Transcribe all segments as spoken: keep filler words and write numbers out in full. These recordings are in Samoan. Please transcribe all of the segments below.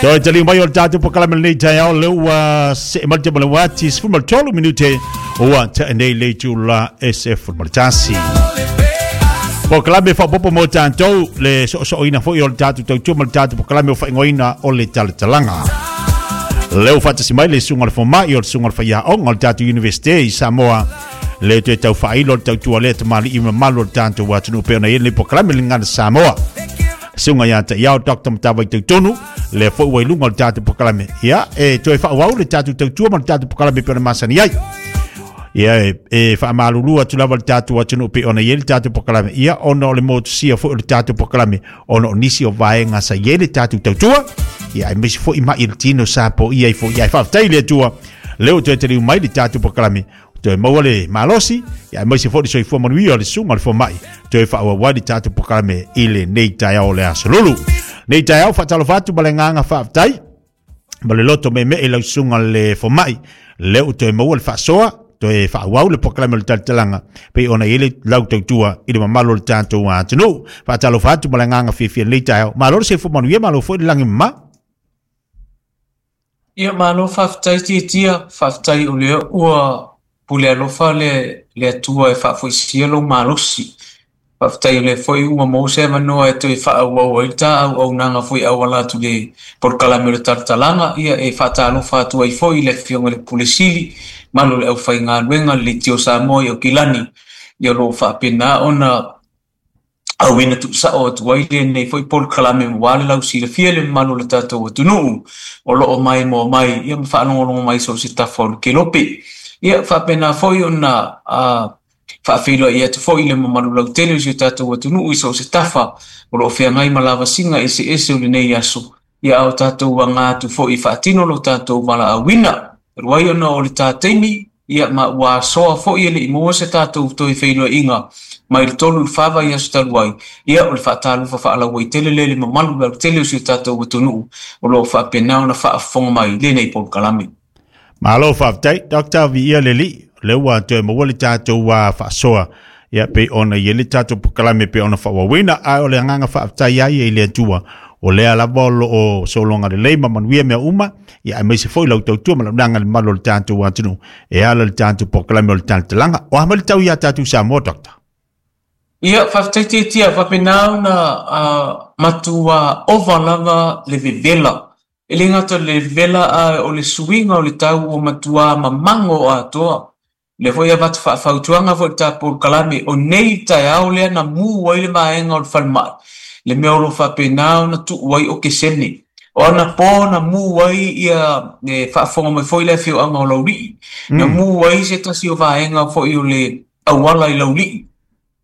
Toe taliu mai o le tatou polokalame lenei taeao lea ua see mai le tema o le uati sefulu ma le tolu minute ua tea nei le itula e sefulu ma le tasi. Polokalame faaopoopo mo tatou le soosooina foi o le tatou tautua ma le tatou polokalame o faaigoaina o le talatalaga. Lea ua faatasi mai le susuga o le fomai o le susuga o le faiaoga o le tatou Universite i Samoa le toe tau faailo le tautua lea tamalii mamalu o le tatou atunuu pei ona i ai lenei polokalame le Gagana Samoa. Susuga ia te iao Doctor Matavai Tautono lea foi ua i luga o le tatou polokalame. Ia, e toe faaauau le tatou tautua ma le tatou polokalame pei ona masani ai. Ia, e, e faamalulu atu lava le tatou atunuu pei ona i ai le tatou polokalame. Ia, ona o le motusia foi o le tatou polokalame, ona o nisi o vaega sa i ai le tatou tautua. Ia, aemaise foi mai i le tino sa poia ai foi. Ia, e faafetai i le Atua, lea ua toe taliu mai le tatou polokalame. Toe maua le malosi, ia aemaise foi le soifua manuia o le susuga o le fomai. Toe faaauau ai le tatou polokalame i lenei taeao o le aso Lulu. Nei taeao faatalofa atu ma le agaga faafetai ma le loto meemee i lau susuga le fomai. Lea ua toe maua le faasoa, toe faaauau le polokalame o le talatalaga pei ona i ai le lau tautua i le mamalu o le tatou atunuu. Faatalofa atu ma le agaga fiafia i lenei taeao. Malo le soifua manuia, malo foi le lagi mama. Ia, malo faafetai Tiatia, faafetai o lea ua pule alofa le, le Atua e faafoisia lou malosi. Faafetai o lea foi ua maua se avanoa e toe faaauau ai le ta auaunaga foi auala atu le polokalame o le talatalaga. Ia, e faatalofa atu ai foi i le afioga i le Pule Sili, mamalu o le aufaigaluega le Leitio Samoa i Aukilani. Ia, o lo o faapena ona auina tuusao atu ai lenei foi polokalame aua le lausilafia le mamalu o le tatou atunuu o lo o maimoa mai ia ma faalogologo mai so o se tafa o le kelope. Ia, faapena foi ona uh, faafeiloai atu foi le mamalu lautele o si o tatou atunuu i so o se tafa o lo o feagai ma lavasiga eseese o lenei aso. Ia, a o tatou aga atu foi faatino lo tatou valaauina. Talu ai ona o le ta taimi, ia ma ua asoa foi e le i maua se tatou toe feiloaiga mai le tolu i le fa vaiaso talu ai. Ia, o le faatalofa faalauaitele lea i le mamalu lautele o si o tatou atunuu o lo o faapena ona faafofoga mai i lenei polokalame. Malo faafetai, Doctor Viia le Alii, lea ua toe maua le tatou uh, faasoa. Ia, pei ona i ai le tatou polokalame pei ona faaauauina, ae o le agaga faafetai ai i le Atua. O lea lava o lo o sologa lelei ma manuia mea uma, ia aemaise foi lau tautua ma launaga le mamalu o le tatou atunuu e ala le tatou polokalame o le talatalaga. O a mai le tau ia tatou Samoa, Doctor? Ia, faafetai Tiatia, faapena ona uh, matua ova lava le vevela. E le gata le vevela a o le suiga o le tau ua matua mamago atoa. Le foi avatu faafautuaga foi le ta polokalame o nei taeao lea na mu ai le vaega o le falemai. Le mea o lo o faapena ona tuu ai okesene. O ana po na mu ai ia e faafofoga mai foi le afioaga o Laulii. Na mu ai se tasi o vaega foi o le auala i Laulii.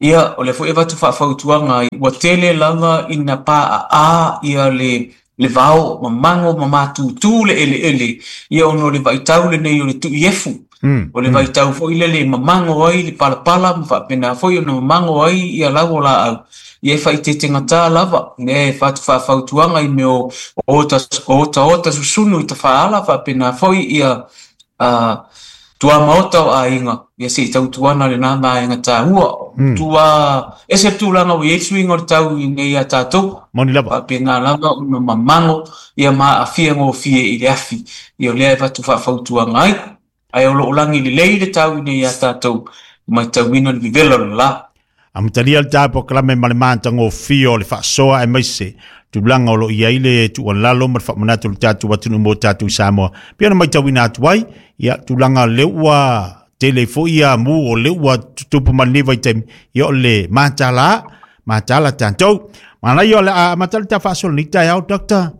Ia, o lea foi avatu faafautuaga ai, ua tele lava ina paaa ia le le vao mamago ma matutu le eleele, ia ona o le vaitau lenei o le tuiefu. Mm, O le mm. vaitau foi lele e mamago ai le palapala ma faapena foi ona mamago ai ia lau o laau. Ia e faaitetegata lava, lea e fatu faafautuaga i mea o ota, otaota susunu i tafaala faapena foi ia uh, tuamaota o aiga, ia se i tautuana lena vaega taua. Mm. Tua ese le tulaga ua i ai le suiga o le tau i nei ia tatou. Moni lava. Faapena lava ona mamago ia ma aafia gofie i le afi. Ia o lea e avatu faafautuaga ai. Ae o lo o lagi lelei le tau i nei ia tatou matauina le vevela o le la. Amatalia le ta polokalame ma le matagofie o le faasoa aemaise tulaga o lo o i ai le tuualalo ma le faamanatu o le tatou atunuu mo tatou Samoa. Pei ona matauina atu ai, ia tulaga lea ua tele foi ia mu o lea ua tutupu mai lenei vaitaimi, ia o le matala, matala tatou. Manaia o le a amata le ta faasoa lenei taeao, Doctor.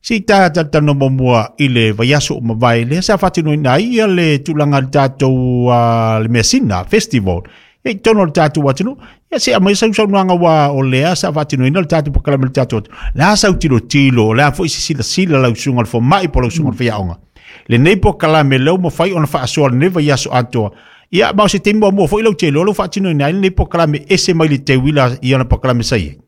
Si ta talatalanoa muamua i le vaiaso o mavae, lea sa faatinoina ai ia le tulaga i le tatou uh, le measina festival. Ia i totonu o le tatou atunuu, ia se aumai sausaunoaga ua o lea sa faatinoina le tatou polokalame i le tatou atunuu. Le a sau tilotilo, o le a foi se silasila lau susuga o le fomai po o lau susuga o le faiaoga. Lenei polokalame lea ua mafai ona faasoa lenei vaiaso atoa. Ia, ma o se taimi muamua foi lau tele o lou faatinoina ai lenei polokalame ese mai le teuila i ona polokalame sa i ai.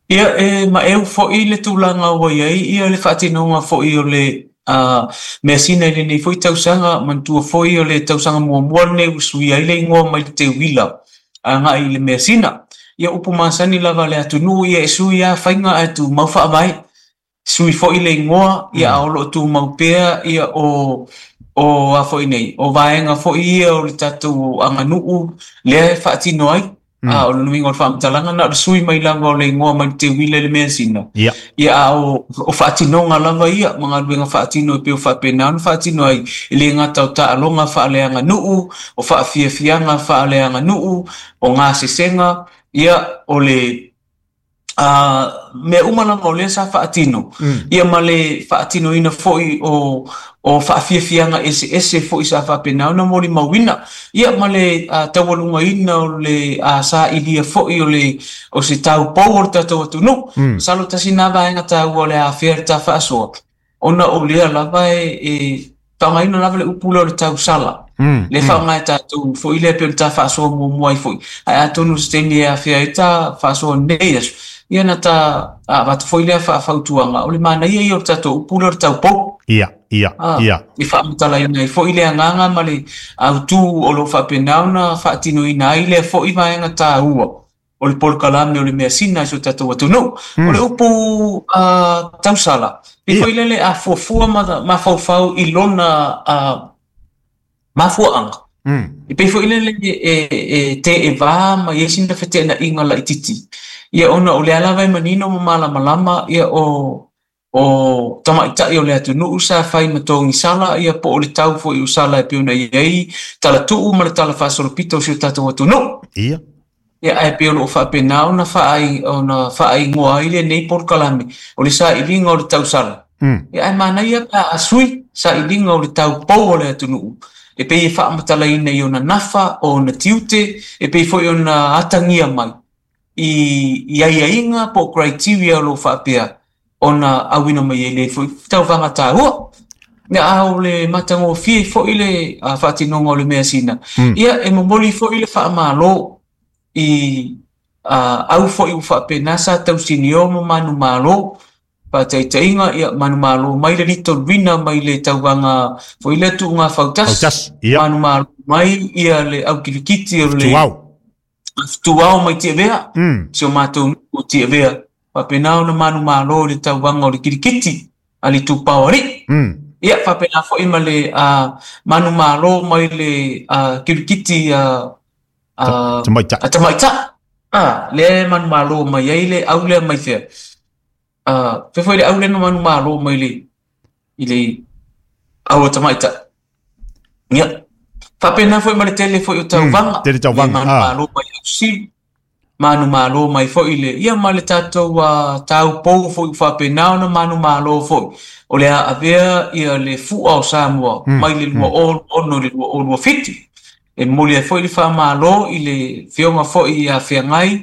Ia, e maeu foi le tulaga ua i ai ia le faatinoga foi o le uh, measina i lenei foi tausaga, manatua foi o le tausaga muamua lenei ua suia ai le igoa mai le teuila agai i le measina. Ia, upu masani lava a le atunuu, ia e sui lava faiga ae tumau faavae. Sui fo'i le igoa, ia a o lo'o tumau pea ia o o a fo'i nei o vaega fo'i ia o le tatou aganuu lea e faatino ai. A o le nuiga o le faamatalaga na o le sui mai lava o le igoa mai le teuila i le measina. Ia. Ia a o o faatinoga lava ia ma galuega faatino e pei o faapena ona faatino ai, e le gata o taaloga faaleaganuu, o faafiafiaga faaleaganuu, o gasesega, ia o le a mea uma lava o lea sa faatino, ia ma le faatinoina foi o o faafiafiaga eseese foi sa faapena ona molimauina, ia ma le uh, taualugaina o le uh, sailia foi o le o se taupou o le tatou atunuu. Mm. Masalo tasi na vaega taua o le afea le ta faasoa, ona o lea lava e, e faaaogaina lava le upu lea o le tausala, Mm. le faaaoga e tatou foi lea pei ona ta faasoa muamua ai foi, ae atonu se taimi e afea ai ta faasoa nei aso, ia na ta avatu foi lea faafautuaga o le manaia ia o le tatou upu lea o le taupou. Ia, ia, Ah, ia. I faamatalaina ai foi le agaga ma le autū o lo o faapena ona faatinoina ai lea fo'i vaega taua o le polokalame o le measina i so tatou atunuu. O le upu uh, tausala, e Ia. foi lele a fuafua ma mafaufau i lona uh, mafuaaga. Mm. E pei foi lele e, e te e vā ma i ai sina feteenaiga laititi. Ia ona o lea lava e manino ma malamalama ia o o tamaita'i o le atunuu sa fai ma togisala ia po o le tau foi o sala e pei ona i ai talatuu ma le tala faasolopito o si o tatou atunuu. Ia. Ia ae pei o loo faapena ona faai ona faaigoa ai lenei polokalame o le sailiga o le tausala. Mm. Ia ae manaia pe a sui sailiga o le taupou o le atunuu. E pei e faamatalaina i ona nafa o ona tiute, e pei foi ona atagia mai i i aiaiga po o criteria o lo o faapea ona auina mai ai le foi tauvaga taua. Ia a o le matagofie foi le uh, faatinoga o le measina. Mm. Ia e momoli foi le faamalo i uh, au foi ua faapena sa tausinio ma manumalo faataitaiga, ia manumalo mai le Little Wina mai le tauvaga foi lea tuuga fautasi. Fautasi. Ia. Manumalo mai ia le au kilikiti o le Tuau. Tuau mai Tiavea, Mm. si o matou nuu o Tiavea, faapena ona manumalo i le tauvaga o le kilikiti a le Itupa o Alii. Mm. Ia faapena foi ma le uh, manumalo mai le uh, kilikiti uh, uh, Tamaita'i. a tamaita'i. Ah, lea e manumalo mai ai le au lea mai fea. Uh, fe foi le au lea na manumalo mai le i le au a tamaita'i. Ia. Faapena foi ma le tele foi o tauvaga. Mm, tele tauvaga, Le manumalo mai ausili. Manumalo mai foi le ia ma le tatou uh, taupou foi ua faapena ona manumalo foi. O le a avea ia le fua o Samoa Mm, mai le lua o ono le lua o lua fitu. E momoli ai foi le faamalo i le fioga foi ia feagai